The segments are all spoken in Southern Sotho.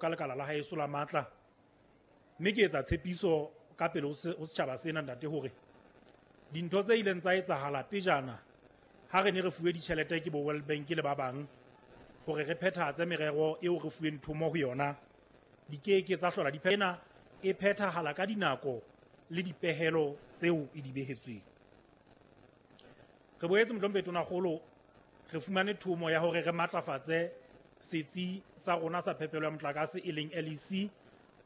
Ka lekala la haeso la matla, mme ke etsa tshepiso ka pele ho setjhaba sena, ntate, hore dintho tse ileng tsa etsahala pejana ha re ne re fuwe ditjhelete ke bo World Bank le ba bang hore re phethahatse merero eo re fuweng thomo ho yona, di keke tsa hlola di ena e phethahala ka dinako le dipehelo tseo e di behetsweng. Re boetse, mohlomphehi Tonakgolo, re fumane thomo ya hore re matlafatse setsi sa rona sa phepelo ya motlakase, e leng LEC,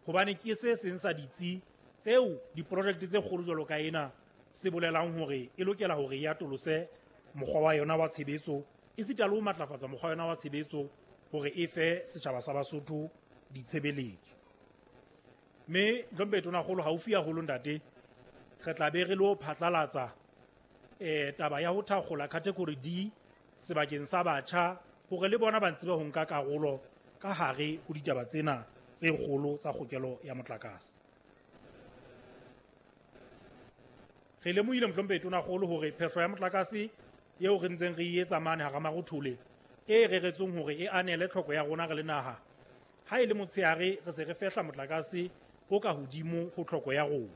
hobane ke se seng sa ditsi tseo diprojekte tse kgolo jwalo ka ena se bolelang hore e lokela hore e atolose mokgwa wa yona wa tshebetso, esita le ho matlafatsa mokgwa wa yona wa tshebetso hore e fe setjhaba sa Basotho ditshebeletso. Mme hlomphehi Tonakgolo, haufi haholo, ntate, re tla be re lo phatlalatsa taba ya ho thakgola category D sebakeng sa batjha hore le bona ba ntse ba ho nka karolo ka hare ho ditaba tsena tse kgolo tsa kgokelo ya motlakase. Re lemohile, mohlomphehi Tonakgolo, hore phehlo ya motlakase eo re ntseng re e etsa mane hara Marothole, e reretsweng hore e anele tlhoko ya rona re le naha, ha e le motshehare re se re fehla motlakase o ka hodimo ho tlhoko ya rona.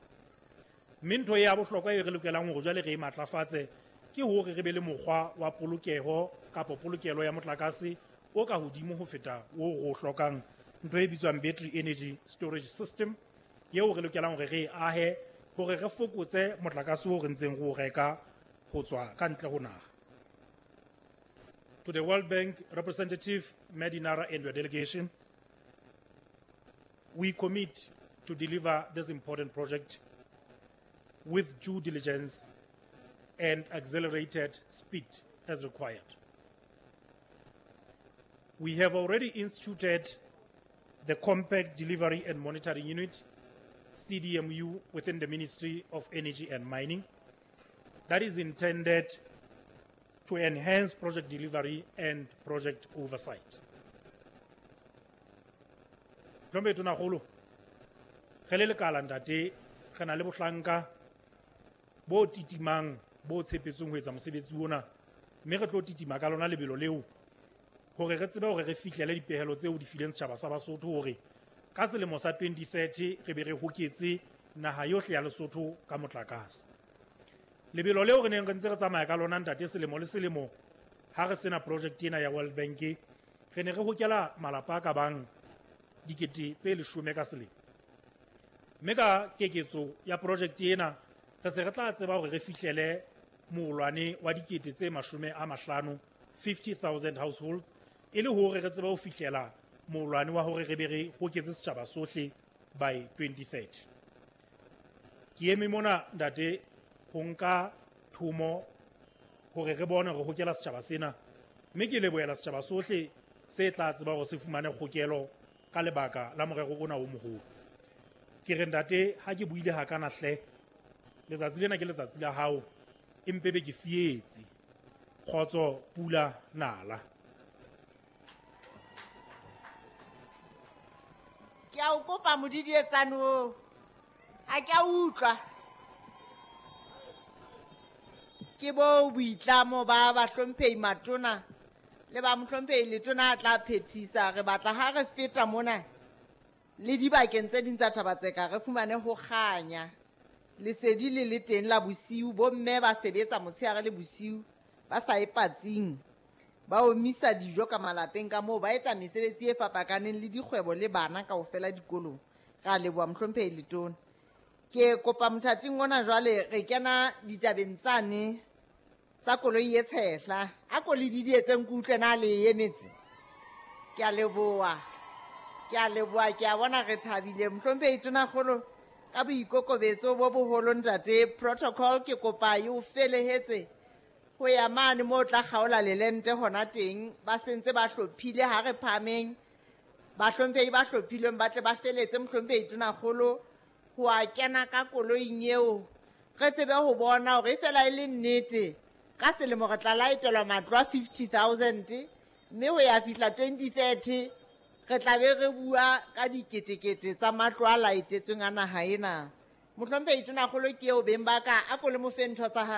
Mme ntho ya bohlokwa e re lokelang hore jwale re e matlafatse ke hore re be le mokgwa wa polokeho kapa polokelo ya motlakase o ka hodimo ho feta o re o hlokang, ntho e bitswang battery energy storage system, eo re lokelang hore re e ahe hore re fokotse motlakase o re ntseng re o reka ho tswa ka ntle ho naha. To the World Bank representative, Medinara, and your delegation, we commit to deliver this important project with due diligence and accelerated speed as required. We have already instituted the Compact Delivery and Monitoring Unit, CDMU, within the Ministry of Energy and Mining that is intended to enhance project delivery and project oversight. Hlomphehi Tonakgolo, re le lekala, ntate, re na le bohlanka bo titimang bo tshepetsweng ho etsa mosebetsi ona, mme re tlo titima ka lona lebelo leo hore re tsebe hore re fihlele dipehelo tseo di fileng setjhaba sa Basotho hore ka selemo sa 2030 re be re hoketse naha yohle ya Lesotho ka motlakase. Lebelo leo re neng re ntse re tsamaya ka lona, ntate, selemo le selemo ha re sena project ena ya World Bank, re ne re hokela malapa a ka bang 10,000 ka selemo, mme ka keketso ya project ena re se re tla tseba hore re fihlele moolwane wa 50,000, 50,000 households, e le hore re tsebe ho fihlela moolwane wa hore re be re hoketse setjhaba sohle by 2030. Ke eme mona, ntate, ho nka thomo hore re bone re hokela setjhaba sena, mme ke lebohela setjhaba sohle se tla tseba hore se fumane kgokelo ka lebaka la morero ona o moholo. Ke re, ntate, ha ke buile hakana hle, letsatsi lena ke letsatsi la hao, empe be ke fietse. Kgotso, pula nala. Ke a o kopa, modidietsane oo ha ke a utlwa. Ke bo boitlamo ba bahlomphehi matona le ba mohlomphehi letona a tla phethisa. Re batla ha re feta mona le dibakeng tse ding tsa Thaba-Tseka re fumane ho kganya, lesedi le le teng la bosiu. Bomme ba sebetsa motshehare le bosiu, ba sa e patsing, ba omisa dijo ka malapeng ka moo, ba etsa mesebetsi e fapakaneng le dikgwebo le bana kaofela dikolong. Re a leboha, mohlomphehi letona. Ke kopa mothating ona jwale re kena ditabeng tsane tsa koloi e tshehla. A ko le didietseng ke utlwe na le emetse. Ke a leboha, ke a leboha, ke a bona re thabile. Mohlomphehi Tonakgolo, ka boikokobetso bo boholo, ntate, protocol ke kopa e o felehetse ho ya mane moo tla kgaola lelente hona teng. Ba sentse ba hlophile, ha re phahameng, bahlomphehi ba hlophilweng ba tle ba feletse mohlomphehi Tonakgolo ho a kena ka koloing eo, re tsebe ho bona hore e fela e le nnete ka selemo re tla laetelwa matlo a 50,000, mme ho ya fihla 2030 re tla be re bua ka diketekete tsa matlo a laetetsweng a naha ena. Mohlomphehi Tonakgolo ke eo, beng ba ka, a ko le mo fe ntho tsa hae.